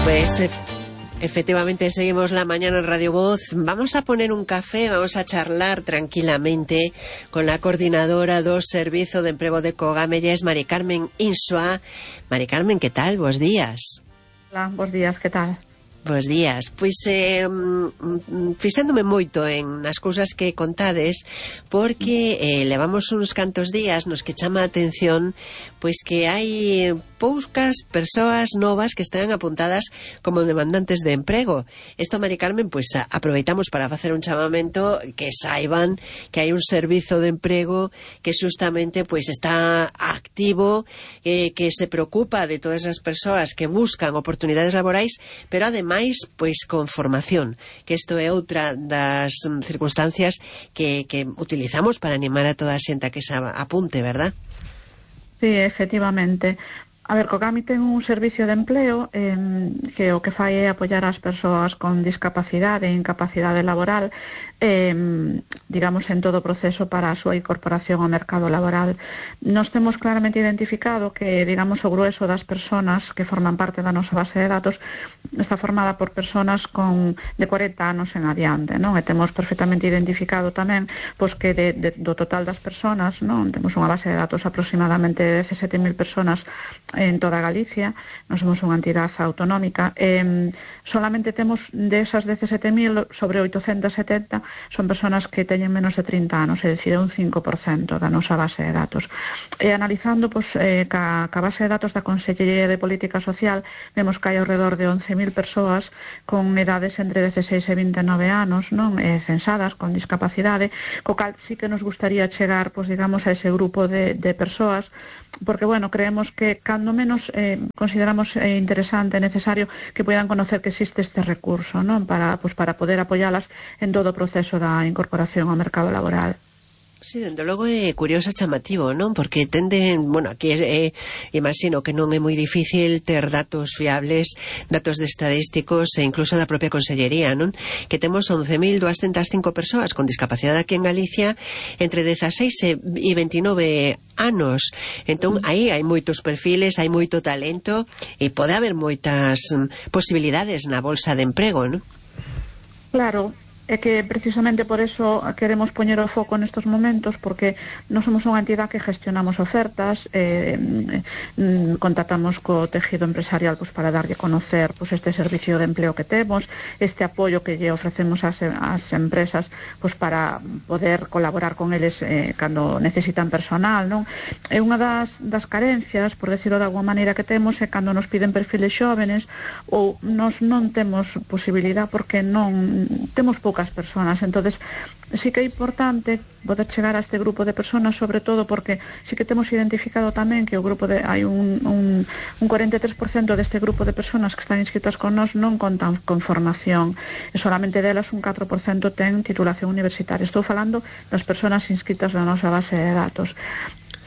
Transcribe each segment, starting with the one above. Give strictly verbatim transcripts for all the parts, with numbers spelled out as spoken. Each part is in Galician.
Pues ef efectivamente seguimos la mañana en Radio Voz. Vamos a poner un café, vamos a charlar tranquilamente con la coordinadora do Servizo de Emprego de Cogamelles, Mari Carmen Insua. Mari Carmen, que tal? Bos días. Hola, bos días, que tal? Bos días. Pois eh, fixándome moito en as cousas que contades, porque eh, levamos uns cantos días nos que chama a atención pois que hai poucas persoas novas que están apuntadas como demandantes de emprego. Isto, Mari Carmen, pois aproveitamos para facer un chamamento que saiban que hai un servizo de emprego que justamente pois está activo, eh, que se preocupa de todas as persoas que buscan oportunidades laborais, pero ademais pois con formación, que isto é outra das circunstancias que, que utilizamos para animar a toda a xente a que se apunte, verdad? Sí, efectivamente. A ver, Cogami ten un servicio de empleo eh, que o que fai é apoiar as persoas con discapacidade e incapacidade laboral, eh, digamos, en todo o proceso para a súa incorporación ao mercado laboral. Nos temos claramente identificado que, digamos, o grueso das persoas que forman parte da nosa base de datos está formada por persoas con de cuarenta anos en adiante, non? E temos perfectamente identificado tamén pois que de, de, do total das persoas, non? Temos unha base de datos aproximadamente de dezasete mil persoas en toda Galicia. Nós somos unha entidade autonómica. Eh, solamente temos desas dezasete mil, sobre oitocentas e setenta son persoas que teñen menos de trinta anos, é dicir, un cinco por cento da nosa base de datos. E analizando pois, eh, ca, ca base de datos da Consellería de Política Social, vemos que hai ao redor de once mil persoas con edades entre dezaseis e vinte e nove anos, non, eh, censadas con discapacidade, co cal sí que nos gustaría chegar, pois, digamos, a ese grupo de, de persoas, porque, bueno, creemos que cando menos eh, consideramos eh, interesante e necesario que puedan conocer que existe este recurso, non, para, pues, para poder apoyalas en todo o proceso da incorporación ao mercado laboral. Sí, dende logo é curioso e chamativo, non? Porque tenden, bueno, aquí é, imagino que non é moi difícil ter datos fiables, datos de estadísticos e incluso da propia Consellería, non? Que temos once mil duascentas cinco persoas con discapacidade aquí en Galicia entre dezaseis e veintinove anos. Entón, aí hai moitos perfiles, hai moito talento e pode haber moitas posibilidades na bolsa de emprego, non? Claro. É que precisamente por eso queremos poñer o foco nestos momentos, porque non somos unha entidade que gestionamos ofertas, eh, eh, contactamos co tejido empresarial pues, para darlle a conocer pues, este servicio de empleo que temos, este apoio que lle ofrecemos ás, ás empresas pues, para poder colaborar con eles eh, cando necesitan personal, non? É unha das, das carencias, por decirlo de alguma maneira, que temos é cando nos piden perfiles xóvenes ou nos non temos posibilidade porque non temos pouca as persoas. Entonces sí que é importante poder chegar a este grupo de persoas, sobre todo porque sí que temos identificado tamén que o grupo de hai un, un, un cuarenta e tres por cento deste grupo de persoas que están inscritas con nós non contan con formación e solamente delas un catro por cento ten titulación universitaria. Estou falando das persoas inscritas na nosa base de datos.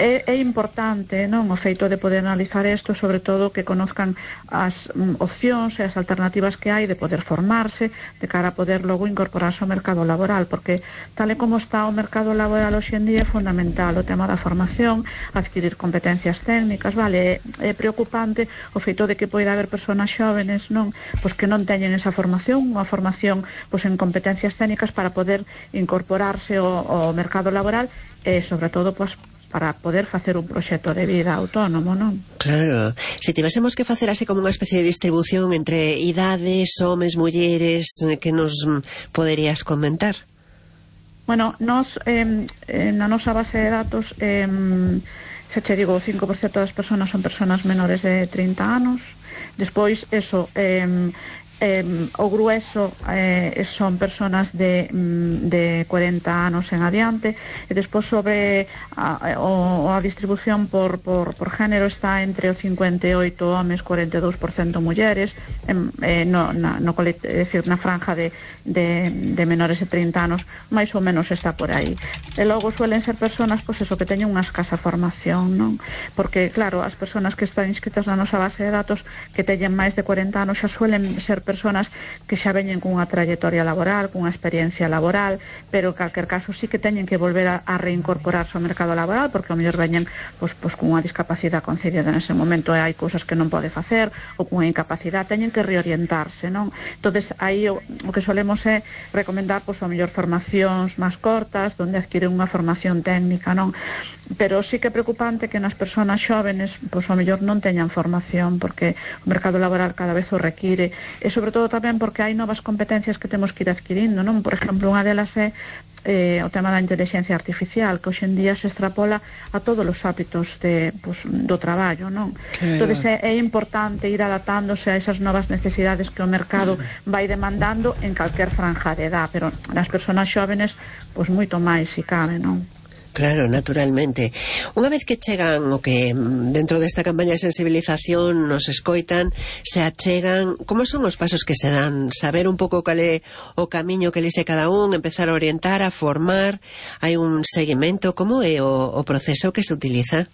É, é importante, non, o feito de poder analizar isto, sobre todo que conozcan as mm, opcións e as alternativas que hai de poder formarse de cara a poder logo incorporarse ao mercado laboral, porque tal e como está o mercado laboral hoxe en día é fundamental o tema da formación, adquirir competencias técnicas, vale, é, é preocupante o feito de que poida haber persoas xóvenes, non, pois que non teñen esa formación, unha formación pois en competencias técnicas para poder incorporarse ao, ao mercado laboral e sobre todo pois para poder facer un proxecto de vida autónomo, non? Claro. Se tivésemos que facer así como unha especie de distribución entre idades, homes, mulleres, que nos poderías comentar? Bueno, nos, eh, na nosa base de datos, eh, se che digo, o cinco por cento das persoas son persoas menores de trinta anos. Despois, eso, eh, Eh, o grueso eh, son persoas de, de cuarenta anos en adiante e despois sobre a, a, a distribución por, por, por género está entre o cincuenta e oito homes, cuarenta e dous por cento mulleres, eh, no, na, no, é decir, na franja de, de, de menores de trinta anos máis ou menos está por aí. E logo suelen ser persoas pois eso, que teñen unha escasa formación, non? Porque claro, as persoas que están inscritas na nosa base de datos que teñen máis de cuarenta anos xa suelen ser personas que xa veñen cunha trayectoria laboral, cunha experiencia laboral, pero en calquer caso sí que teñen que volver a, a reincorporarse ao mercado laboral, porque ao mellor veñen pois, pois, cunha discapacidade concedida nese momento e hai cousas que non pode facer, ou cunha incapacidade, teñen que reorientarse, non? Entonces aí o, o que solemos é recomendar pois, ao mellor formacións máis cortas, onde adquiren unha formación técnica, non? Pero sí que é preocupante que nas persoas xóvenes pois ao mellor non teñan formación, porque o mercado laboral cada vez o require, e sobre todo tamén porque hai novas competencias que temos que ir adquirindo, non? Por exemplo, unha delas é eh, o tema da inteligencia artificial, que hoxe en día se extrapola a todos os hábitos de, pues, do traballo, non? Claro. Entón é, é importante ir adaptándose a esas novas necesidades que o mercado vai demandando en calquer franja de edad, pero nas persoas xóvenes pois moito máis se cabe, non? Claro, naturalmente. Unha vez que chegan o que dentro desta campaña de sensibilización nos escoitan, se achegan, como son os pasos que se dan? Saber un pouco cal é o camiño que lise cada un, empezar a orientar, a formar, hai un seguimento, como é o, o proceso que se utiliza?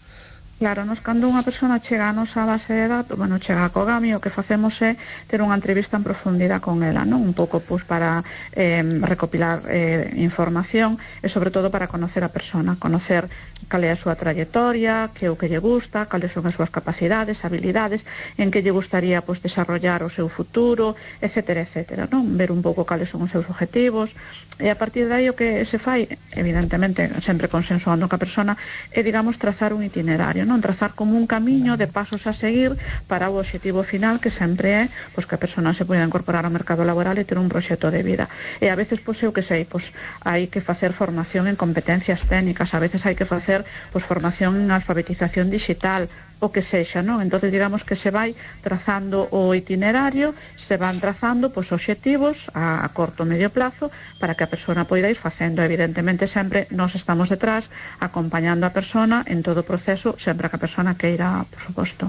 Claro, nos cando unha persona chega a nosa base de datos, bueno, chega a Cogami, o que facemos é ter unha entrevista en profundidade con ela, non? Un pouco pues, para eh, recopilar eh, información e sobre todo para conocer a persona, conocer cal é a súa trayectoria, que é o que lle gusta, cales son as súas capacidades, habilidades, en que lle gustaría pues, desarrollar o seu futuro, etcétera, etcétera, non? Ver un pouco cales son os seus objetivos, e a partir de aí o que se fai, evidentemente, sempre consensuando ca persona, é, digamos, trazar un itinerario, non? Trazar como un camiño de pasos a seguir para o obxectivo final, que sempre é pois, que a persona se poida incorporar ao mercado laboral e ter un proxecto de vida. E a veces, pois, eu que sei, pois, hai que facer formación en competencias técnicas, a veces hai que facer pois, formación en alfabetización digital, o que sexa, non? Entonces digamos que se vai trazando o itinerario, se van trazando pois obxectivos a, a corto e medio plazo para que a persona poida ir facendo. Evidentemente sempre nós estamos detrás acompañando a persona en todo o proceso, sempre que a persona queira, por suposto.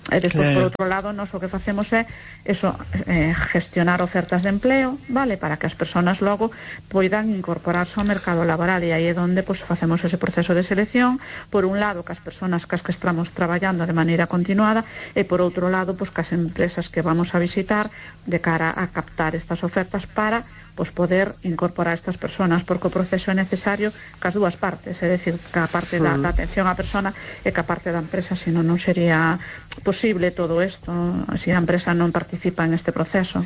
E despois, claro. Por outro lado, nós o que facemos é eso, eh, gestionar ofertas de empleo, vale, para que as persoas logo poidan incorporarse ao mercado laboral, e aí é onde pues, facemos ese proceso de selección, por un lado, que as persoas cas que estamos traballando de maneira continuada, e por outro lado, pues, que as empresas que vamos a visitar de cara a captar estas ofertas para pues poder incorporar a estas persoas, porque o proceso é necesario cas dúas partes, é dicir, ca parte da, da atención á persona e ca parte da empresa, senón non sería posible todo isto se a empresa non participa en este proceso.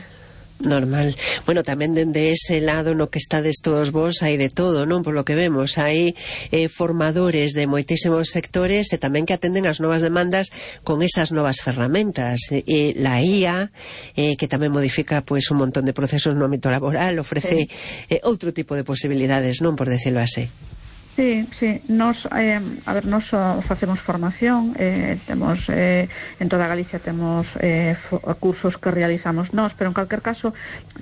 Normal. Bueno, tamén dende ese lado no que estades todos vos hai de todo, non? Por lo que vemos, hai eh, formadores de moitísimos sectores e tamén que atenden as novas demandas con esas novas ferramentas. E la I A, eh, que tamén modifica pues, un montón de procesos no ámbito laboral, ofrece sí. eh, outro tipo de posibilidades, non? Por decirlo así. Sí, sí, nos, eh, a ver, nos facemos formación, eh, temos, eh, en toda Galicia temos eh, cursos que realizamos nós, pero en calquer caso,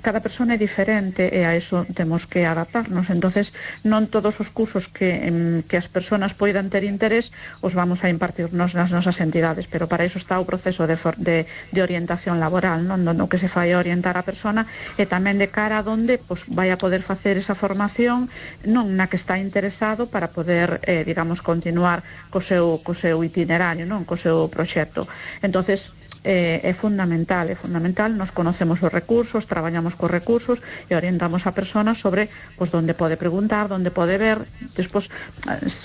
cada persona é diferente e a eso temos que adaptarnos, entonces non todos os cursos que, en, que as persoas poidan ter interés os vamos a impartirnos nas nosas entidades, pero para iso está o proceso de, for, de, de orientación laboral, non? No que se fai orientar a persona e tamén de cara a donde pues, vai a poder facer esa formación non na que está interesado para poder, eh, digamos, continuar co seu, co seu itinerario, non? Co seu proxecto. Entonces, eh, é fundamental, é fundamental, nos conocemos os recursos, traballamos cos recursos e orientamos a persona sobre pues, onde pode preguntar, onde pode ver. Despois,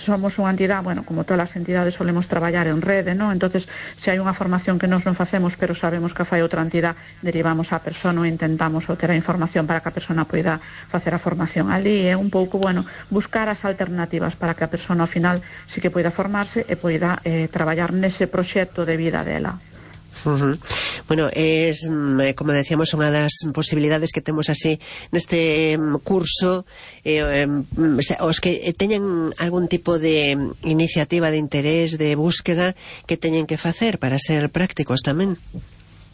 somos unha entidade, bueno, como todas as entidades solemos traballar en rede, non? Entonces, se hai unha formación que nos non facemos, pero sabemos que fai outra entidade, derivamos a persona ou intentamos obter a información para que a persona poida facer a formación ali. É un pouco, bueno, buscar as alternativas para que a persona ao final sí que poida formarse e poida eh, traballar nese proxecto de vida dela. Uh-huh. Bueno, es, como decíamos, unha das posibilidades que temos así neste um, curso, eh, um, os que teñen algún tipo de iniciativa de interés, de búsqueda, que teñen que facer para ser prácticos tamén.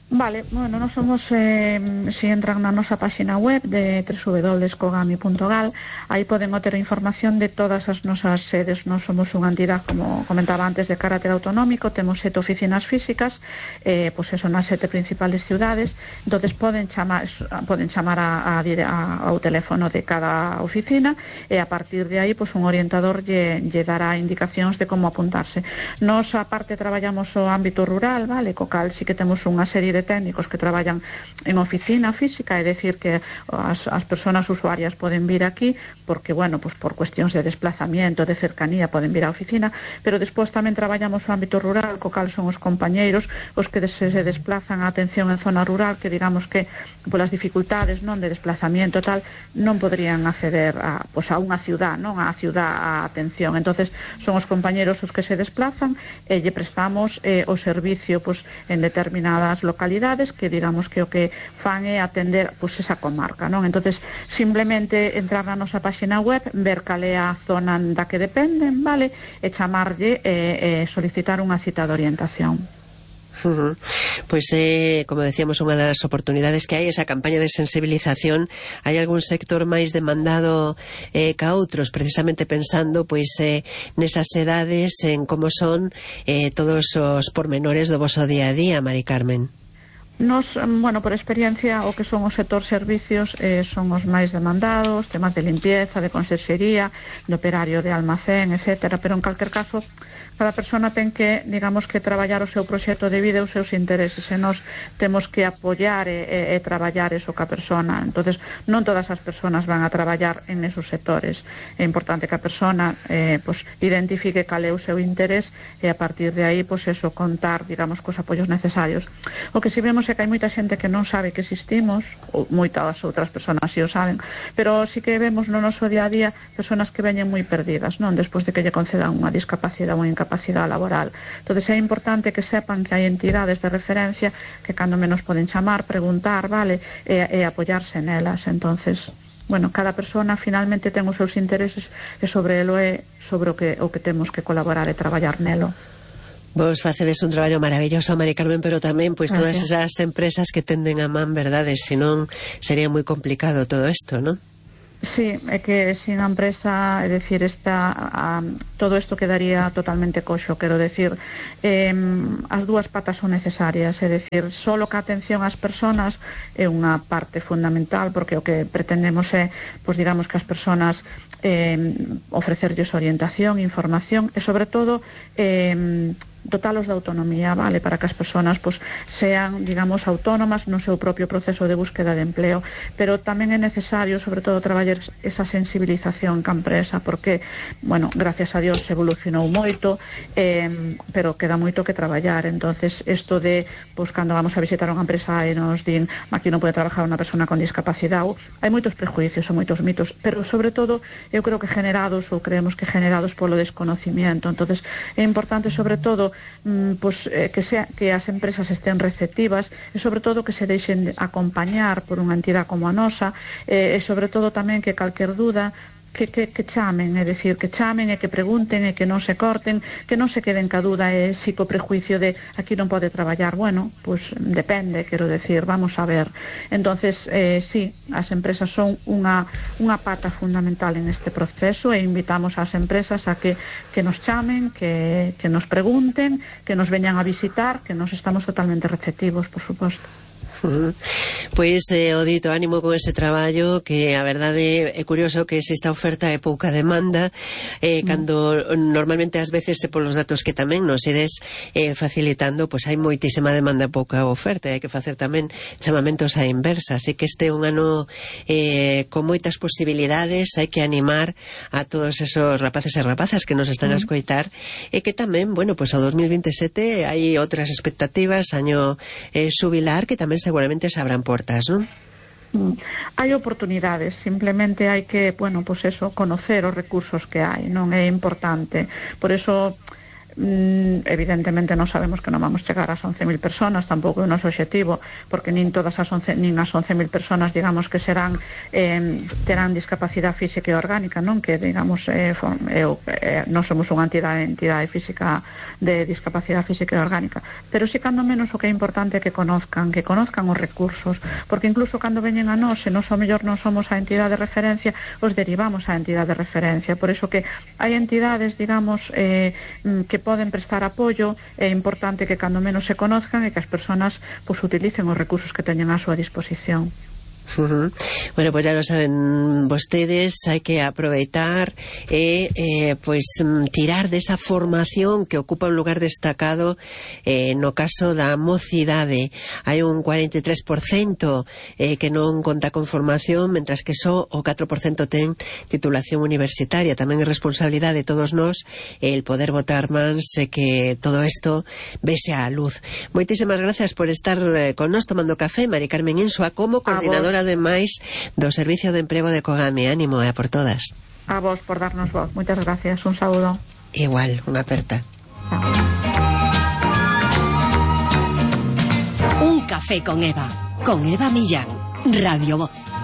Vale, bueno, nós somos, eh, si entran na nosa página web de doble u doble u doble u punto cogami punto gal, aí poden obter información de todas as nosas sedes. Nós somos unha entidade, como comentaba antes, de carácter autonómico, temos sete oficinas físicas, eh, pois pues eso, nas sete principales ciudades, entonces poden chamar, poden chamar a, a, a, ao teléfono de cada oficina e a partir de aí, pois pues, un orientador lle, lle dará indicacións de como apuntarse. Nós, aparte, traballamos o ámbito rural, vale, co cal sí que temos unha serie de técnicos que traballan en oficina física, é dicir que as, as persoas usuarias poden vir aquí porque, bueno, pues por cuestións de desplazamiento, de cercanía, poden vir á oficina, pero despois tamén traballamos no ámbito rural, co cal son os compañeiros os que se, se desplazan a atención en zona rural, que digamos que polas dificultades, non, de desplazamiento tal, non podrían acceder a, pues a unha ciudad, non, a ciudad a atención. Entonces son os compañeiros os que se desplazan e lle prestamos eh, o servicio pues en determinadas localidades que digamos que o que fan é atender pues esa comarca, non? Entonces simplemente entrar na nosa página web, ver cal é a zona da que dependen, vale, e chamarlle e eh, eh, solicitar unha cita de orientación. Uh-huh. Pues eh, como decíamos, unha das oportunidades que hai esa campaña de sensibilización. Hai algún sector máis demandado eh, ca outros, precisamente pensando pois eh, nesas edades, en como son eh, todos os pormenores do voso día a día, Mari Carmen. Nos, bueno, por experiencia, o que son os sector servicios eh, son os máis demandados, temas de limpieza, de conserxería, de operario de almacén, etcétera, pero en calquer caso cada persona ten que, digamos, que traballar o seu proxecto de vida e os seus intereses, e nós temos que apoiar e, e, e traballar eso ca persona. Entonces non todas as persoas van a traballar en esos sectores. É importante que a persona eh, pues, identifique cal é o seu interés e a partir de aí, pues eso, contar, digamos, cos apoios necesarios. O que si vemos é que hai moita xente que non sabe que existimos, ou moitas outras persoas si o saben, pero si que vemos no noso día a día persoas que veñen moi perdidas, non, despois de que lle concedan unha discapacidade ou unha incapacidade laboral. Entón é importante que sepan que hai entidades de referencia que cando menos poden chamar, preguntar, vale, e, e apoiarse nelas. Entonces, bueno, cada persona finalmente ten os seus intereses e sobre elo é sobre o que, o que temos que colaborar e traballar nelo. Vos facedes un traballo maravilloso, Mari Carmen, pero tamén pois todas esas empresas que tenden a man, verdade, senón sería moi complicado todo isto, non? Sí, é que sin a empresa, é dicir, esta, a, todo isto quedaría totalmente coxo, quero decir, eh, as dúas patas son necesarias, é dicir, solo que a atención ás persoas é unha parte fundamental, porque o que pretendemos é, pois digamos que as persoas eh, ofrecerlles orientación, información e sobre todo eh, dotalos de autonomía, vale, para que as persoas pues, sean, digamos, autónomas no seu propio proceso de búsqueda de empleo, pero tamén é necesario, sobre todo, traballar esa sensibilización ca empresa, porque, bueno, gracias a Dios evolucionou moito, eh, pero queda moito que traballar. Entonces, isto de, pues, cando vamos a visitar unha empresa e nos din aquí non pode trabajar unha persona con discapacidade, hai moitos prejuicios ou moitos mitos, pero, sobre todo, eu creo que generados, ou creemos que generados polo desconocimiento. Entonces, é importante, sobre todo, pues, eh, que, sea, que as empresas estén receptivas e sobre todo que se deixen acompañar por unha entidade como a nosa eh, e sobre todo tamén que calquer duda Que, que, que chamen, é dicir, que chamen e que pregunten e que non se corten, que non se queden ca duda e si co prejuicio de aquí non pode traballar. Bueno, pues depende, quero decir, vamos a ver. Entonces, eh, sí, as empresas son unha, unha pata fundamental en este proceso e invitamos ás empresas a que, que nos chamen, que, que nos pregunten, que nos veñan a visitar, que nos estamos totalmente receptivos, por suposto. Uh-huh. Pois eh, o dito, ánimo con ese traballo, que a verdade é curioso que se esta oferta é pouca demanda eh, mm. cando normalmente ás veces polos datos que tamén nos ides eh, facilitando, pois hai moitísima demanda e pouca oferta, e hai que facer tamén chamamentos á inversa, así que este é un ano eh, con moitas posibilidades, hai que animar a todos esos rapaces e rapazas que nos están mm. a escoitar, e que tamén, bueno, pois ao dos mil veintesete hai outras expectativas, año eh, xubilar, que tamén seguramente se abran portas, non? Mm. Hai oportunidades, simplemente hai que, bueno, pues eso, conocer os recursos que hai, non é importante. Por eso, mm, evidentemente non sabemos que non vamos chegar ás once mil personas, tampouco é o noso objetivo, porque nin todas as once, nin as once mil personas, digamos, que serán eh, terán discapacidade física e orgánica, non? Que, digamos, eh, eu, eh, non somos unha entidade, entidade física de discapacidade física e orgánica, pero si cando menos o que é importante é que conozcan, que conozcan os recursos, porque incluso cando veñen a nós, se nós ao mellor non somos a entidade de referencia, os derivamos á entidade de referencia. Por iso que hai entidades, digamos, eh, que poden prestar apoio, é importante que cando menos se conozcan e que as persoas pues, utilicen os recursos que teñen á súa disposición. Uh-huh. Bueno, pues ya lo saben vostedes, hai que aproveitar e eh, pues tirar desa formación que ocupa un lugar destacado eh, no caso da mocidade. Hai un cuarenta e tres por cento eh, que non conta con formación, mentras que só o catro por cento ten titulación universitaria. Tamén é responsabilidade de todos nós el poder botar mans e que todo isto vese á luz. Moitísimas gracias por estar eh, con nós tomando café, Mari Carmen Insua, como coordinadora ademais do Servicio de Emprego de Cogame. Ánimo, e a por todas. A vos por darnos voz. Muchas gracias. Un saludo. Igual, unha aperta. Un café con Eva. Con Eva Millán. Radio Voz.